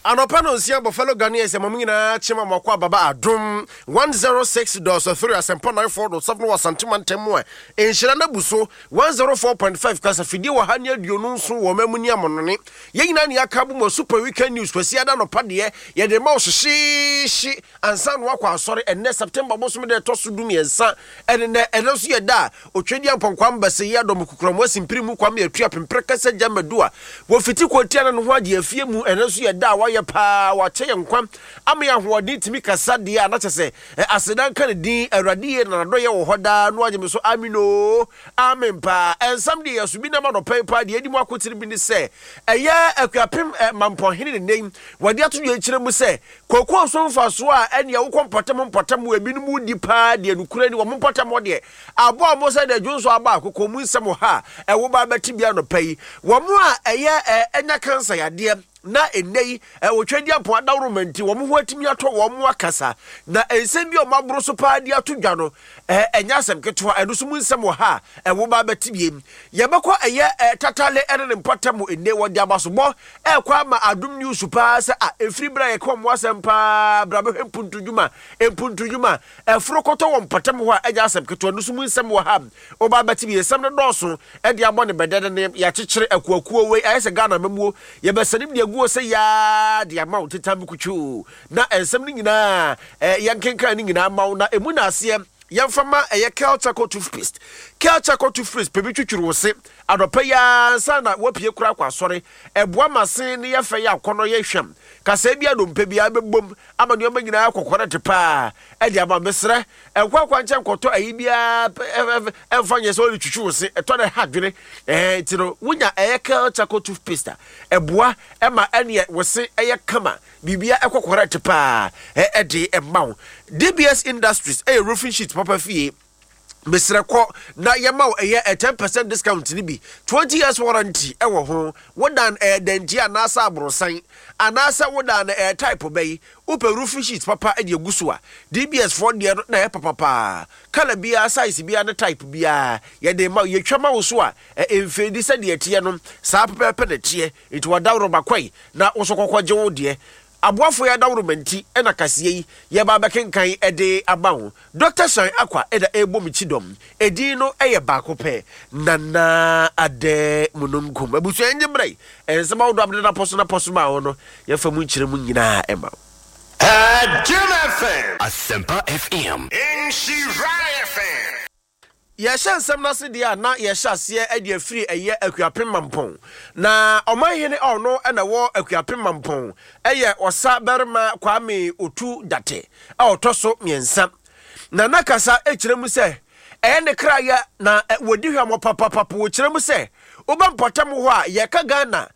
Anɔpa no 6 bɔ. Fellow Ghanaians, ɛma mo nyinaa kyema mo akɔ ababa Adom 106.3, Asɛmpa 94.7 wɔ Asantema ntɛm mu a nhyira no abu so 104.5 kasafidie wɔ ha ne 27 wɔ ɔma mu ne amɔnɔne. Yɛn nyinaa ne yɛaka bo mu Super Weekend News. Kwasi ada nɔpa deɛ, yɛde ma wo hyehyeehye ansa na wakɔ asɔre. Ɛnnɛ September bosom deɛ ɛtɔ so 13 ɛne nɛ. Ɛno nso yɛ da a Otwadi Ampɔnkwa Mbɛsɛ yi adɔm kukuramu asimpiri mu Kwame Atua Pempere Kɛsɛ Gya Madu a wɔfiti kɔntia na ne ho agye afie mu. Ɛno nso yɛ da a wayɛ paa, wakyɛ yɛn nkwa ama yɛ ahoɔden tumi kasa deɛ a na kyɛ sɛ aseda nka ne din. Awurade yie na n'adɔyɛ wɔ hɔ daa no agye me so. Amen o, amen paa. Ɛnsɛm deɛ yɛso bi nam anɔpa yi paa deɛ adi mu akotene bi ne sɛ ɛyɛ Akuapem Mampɔnhene ne nne wɔde ato dwa kyerɛ mu sɛ kookoo so mfasoɔ a ɛnea wokɔ mpɔtam mpɔtam wɔ ebinom di paa deɛ, nokura ni, wɔn mpɔtam hɔ deɛ aboa wɔn sɛ deɛ dwonso aba akokɔ mu. Nsɛm wɔ ha a ɛwo ba bɛte bi anɔpa yi. Wɔn a ɛyɛ ɛnya cancer yadeɛ na ɛnɛ yi wɔtwa di apɔn adaworoma nti wɔn ho atumi atɔ wɔn mo akasa na nsɛm bi a wɔn aboro so paa de ato dwa no ɛnyɛ asɛm ketewa. Ɛno nso mu nsɛm wɔ ha a ɛwo ba bɛte biem. Yɛbɛkɔ ɛyɛ Tatale ɛne ne mpɔtam. Ɛnɛ wɔde abasobɔ ɛkɔ ama Adom News paa sɛ a ɛfiri berɛ a yɛka wɔn asɛm paa bra bɛhwɛ mpuntudwuma mpuntudwuma ɛforo kɔtɔ wɔ mpɔtam hɔ a ɛnyɛ asɛm ketewa no so mu nsɛm wɔ ha. Ɔba bɛte bi, nsɛm no dɔɔso ɛde abɔ ne bɛdɛ ne yɛakyekyere akuakuo wei ayɛ sɛ Ghana mamuo yɛbɛsɛne de aguo sɛ yaa de ama wo teta mukutwoo na nsɛm no nyinaa yɛnkenkan no nyinaa ma wo na ɛmu na aseɛ. Yɛmfa ma ɛyɛ Kel Charcoal toothpaste. Kel Charcoal toothpaste pɛ bi twitwiri wo se anɔpa yi ara nsa na wapue kora akɔ asɔre. Ɛboa ma se ne yɛfɛ yɛ akɔnɔ yɛ hwam kasaa bi adompe biara bɛbom ama nneɛma nyinaa kɔkɔrɔ te paa ɛde ama. Mesrɛ, ɛnkɔ akwankyɛn nkɔtɔ ayi biara ɛmfa nyɛ sɛ ɔde twitwi wo se ɛtɔ no ɛha dwene nti no wonya ɛyɛ Kel Charcoal toothpaste a ɛboa ɛma ɛneɛ wo se ɛyɛ kama, biribia ɛkɔ correct paa ɛde ɛma wo. DBS Industries ɛyɛ roofing sheet papa fie. Mesrɛ, kɔ na yɛma wo ɛyɛ 10% discount ni bi, 20 years warranty ɛwɔ ho. Wodan ɛyɛ danti anaasɛ aborosan anaasɛ wodan no ɛyɛ type bɛyi, wopɛ roofing sheet papa ɛde agu so a, DBS foɔ deɛ no na ɛyɛ papapaa. Colour biara, size biara ne type biara yɛde ma. Yɛtwa ma wo so a ɛmfɛdi sɛdeɛ ɛteɛ no saa pɛpɛɛpɛ na ɛteɛ. Nti wadaworo kɔi na wo so kɔkɔ gye wo deɛ. Aboafo yɛ adaworo nti ɛna kaseɛ yi yɛba bɛkenkan ɛde aba wo. Dr Shan Akwa ɛda ɛrebɔ me kyi dɔm. Ɛdin no ɛyɛ baako pɛ, Nana Adɛ Mununkum. Abusua, ɛngye mmerɛ yi ɛnsɛm ahodoɔ abede napɔ so napɔ so ma wo no, yɛfa mu nkyerɛ mu nyinaa ɛma wo. Jim FM. Asempa FM. Nhyira FM. Yɛhyɛ nsɛm no ase deɛ a, na yɛhyɛ aseɛ de afiri ɛyɛ Akuapem Mampɔn na ɔmanhene a ɔno ɛna ɛwɔ Akuapem Mampɔn ɛyɛ Ɔsa Barima Kwame Otu Date a ɔtɔ so mmiɛnsa na nakasa kyerɛ mu sɛ ɛyɛ ne krayɛ na wɔdi hwamɔ papapapa. Wɔkyerɛ mu sɛ woba mpɔtam hɔ a yɛka Ghana.